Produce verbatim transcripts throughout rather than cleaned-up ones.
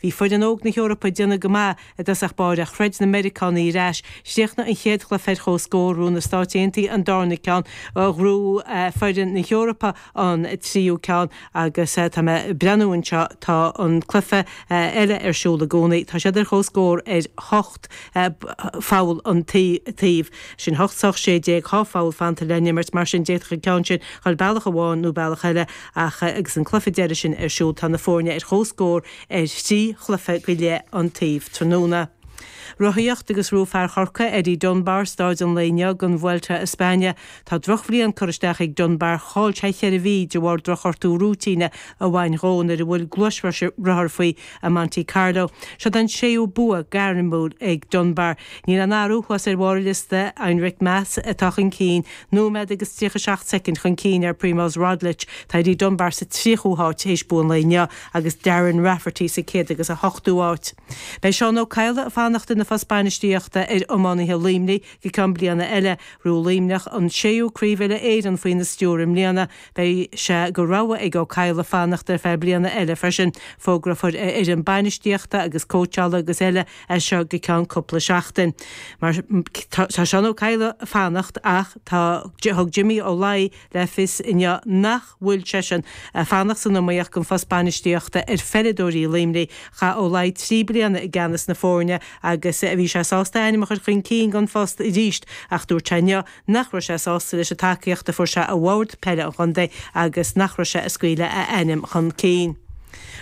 Bhí foireann óg na hEorpa ag déanamh go maith i dtosach báire ach throid na Meiriceánaigh ar ais. Chríochnaigh an chéad chluiche ar comhscór, ghnóthaigh na Stáit Aontaithe an darna ceann, ghnóthaigh foireann na hEorpa an tríú ceann agus tá mé ag breathnú anseo, tá an cluiche eile ar siúl i gcónaí. Tá siad ar comhscór ar hocht pholl an taobh. Sin hocht is a sé déag, dhá pholl fanta le n-imirt, mar sin d'fhéadfadh an ceann sin dhul bealach amháin nó bealach eile ach agus an cluiche deiridh sin ar siúl tá na foirne ar comhscór ar thrí chluiche go leith an taobh tráthnóna. Rothaíocht agus ghnóthaigh fear Chorcaí, Eddie Dunbar, staid an lae inniu den Vuelta a España. Tá drochbhliain curtha isteach ag Dunbar, chaill sé cheithre mhí de bharr drochghortú rúitíne a bhain dhó nuair a bhuail gluaisrothar faoi i Monte Carlo. Seo an séú bua gairmiúil ag Dunbar. Níl aon athrú thuas ar bharr an liosta, Enric Mas atá chun cinn, nóiméad agus tríocha seacht soicind chun cinn ar Primoz Roglic. Tá Eddie Dunbar sa tríochú háit théis bua an lae inniu agus Darren Rafferty sa céad agus a hochtú háit. Beidh Seán Ó Cadhla ag fanacht ina phost bainistíochta ar iománaithe Luimnigh go ceann bliana eile. Ghnóthaigh Luimneach an séú Craobh Uile-Éireann faoina stiúir i mbliana. Beidh sé de rogha ag Ó Cadhla fanacht ar feadh bliana eile freisin. Fógrófar a fhoireann bainistíochta agus cóitseála agus eile as seo go ceann cúpla seachtain. Mar tá Seán Ó Cadhla ag fanacht ach tá thug Jimmy Ó Laoi le fios inniu nach bhfuil seisean ag fanacht san iomaíocht don phost bainistíochta ar pheileadóirí Luimnigh. Chaith Ó Laoi trí bliana i gceannas na foirne agus bhí sé sásta a ainm a chur chun cinn don phost arís ach dúirt sé inniu nach raibh sé sásta leis an tacaíocht a fuair sé ó bhord peile an chontae agus nach raibh sé ag scaoileadh a ainm chun cinn.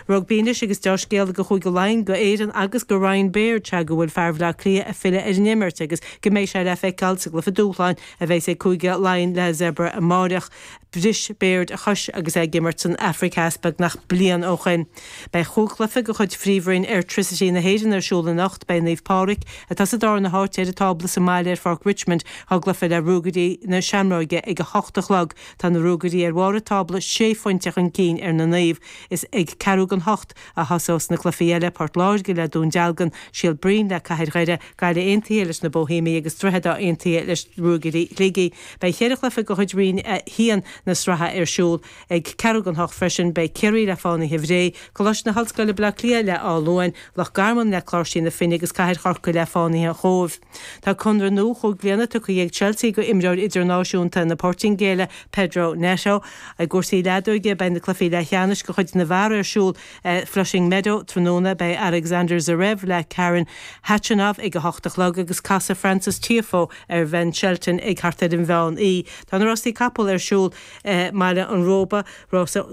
Rugbaí anois agus deá-scéala do Chúige Laighean, do Éirinn agus do Ryan Baird, sea go bhfuil fear Bhaile Átha Cliath ag filleadh ar an imirt agus go mbeidh sé le feiceáil sa gcluiche dúshláin a bheas ag Cúige Laighean le Zebre amáireach. Bhris Baird a chois agus é ag imirt san Afraic Theas beagnach bliain ó shoin. Beidh chúig chluiche de chuid Phríomhroinn Airtricity na hÉireann ar siúl anocht. Beidh Naomh Pádraig, atá sa darna háit ar an tábla sa mbaile ar Pháirc Richmond, á gcluiche le Ruagairí na Seamróige ag a hocht a chlog. Tá na Ruagairí ar bharr an tábla, sé phointe chun cinn ar na Naoimh. Is ag ceathrú don hocht a thosós na cluichí eile, Port Láirge le Dún Dealgan, Síol Bhriain le Cathair Dhoire, Gaillimh Aontaithe leis na Boihéamaigh agus Droichead Átha Aontaithe leis Ruagairí Shligigh. Beidh cheithre chluiche de chuid Roinn a haon na sraithe ar siúl ag ceathrú don hocht freisin. Beidh Ciarraí le Fánaithe Bhré, Coláiste na hOllscoile Baile Átha Cliath le Áth Luain, Loch Garman le Cláirsigh na Finne agus Cathair Chorcaí le Fánaithe an Chóibh. Tá conradh nua chúig bliana tugtha ag Chelsea go imreoir idirnáisiúnta na Portaingéile, Pedro Neto. I gcúrsaí leadóige, beidh na cluichí leathcheannais de chuid na bhfear ar siúl i Flushing Meadow tráthnóna. Beidh Alexander Zverev le Karen Khachanov ag a hocht a chlog agus casfaidh Frances Tiafoe ar Ben Shelton ag thart ar an mheán oíche. Tá na rásaí capall ar siúl i mBaile an Róba, rása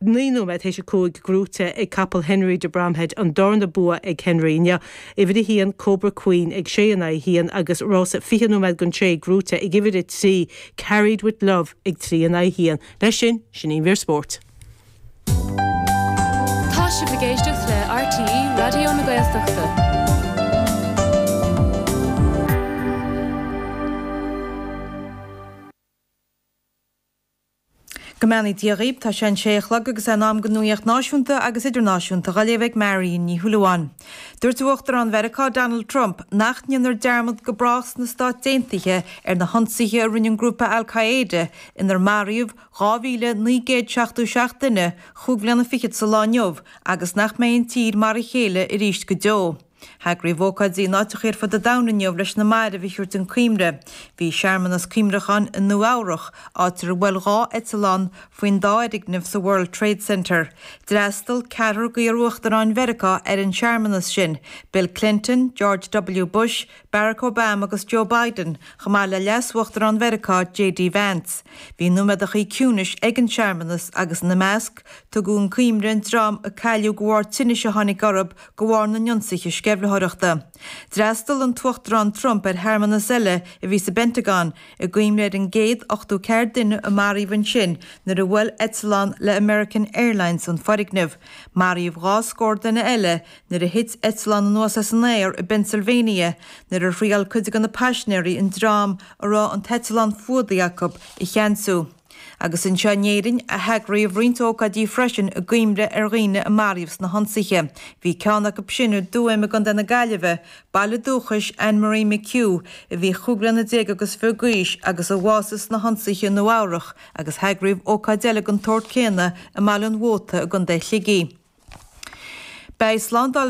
naoi nóiméad théis a cúig gnóthaithe ag capall Henry de Bromhead, an darna bua ag Henry inniu. Uimhir a haon Cobra Queen ag sé in aghaidh a haon agus rása fiche nóiméad don sé gnóthaithe ag uimhir a trí Carried with Love ag trí in aghaidh a haon. Leis sin, sin í an mhír spóirt. Tá sibh ag éisteacht le RTÉ Raidió na Gaeltachta. Go mbeannaí Dia dhaoibh, tá sé an sé a chlog agus é in am don nuaíocht náisiúnta agus idirnáisiúnta á léamh ag Marion Ní Shúilleabháin. Dúirt Uachtarán Mheiriceá Donald Trump nach ndéanfar dearmad go brách sna Stáit Aontaithe ar na hionsaithe a rinne an grúpa Al Qaeda inar maraíodh dhá mhíle naoi gcéad seachtó seacht duine chúig bhliana fichead sa lá inniu agus nach mbeidh an tír mar a chéile arís go deo. Heagraíodh ócáidí in áiteacha ar fud an domhain inniu leis na mairbh a thabhairt chun cuimhne. Bhí searmanas cuimhneacháin i Nua Eabhrach, áit ar bhuail dhá eitleán faoin dá fhoirgneamh sa World Trade Center. D'fhreastail ceathrar d'iar-uachtaráin Mheiriceá ar an searmanas sin, Bill Clinton, George W. Bush, Barack Obama agus Joe Biden, chomh maith le Leas-Uachtarán Mheiriceá JD Vance. Bhí nóiméadachaí ciúnais ag an searmanas agus ina measc, tugadh chun cuimhne an dream a cailleadh de bharr tinnis a tháinig orthu de bharr na n-ionsaithe sceimhlitheoireachta. D'fhreastail an tUachtarán Trump ar shearmanas eile a bhí sa bPentagon i gcuimhne ar an gcéad ochtó ceathair duine a maraíodh ansin nuair a bhuail eitleán le American Airlines an foirgneamh. Maraíodh dhá scór duine eile nuair a thit eitleán anuas as an aer i bPennsylvania nuair a thriail cuid de na paisinéirí an dream a raibh an t-eitleán fuadaigh acu a cheansú. Agus anseo in Éirinn heagraíodh roinnt ócáidí freisin i gcuimhne ar dhaoine a maraíodh sna hionsaithe. Bhí ceann acu sin i dTuaim i gContae na Gaillimhe, baile dúchais Anne Marie McHugh, a bhí chúig bliana déag agus fiche d'aois agus a bhásaigh sna hionsaithe i Nua Eabhrach, agus heagraíodh ócáid eile den tsórt céanna i mBaile an Mhóta i gContae Shligigh. Beidh slándáil.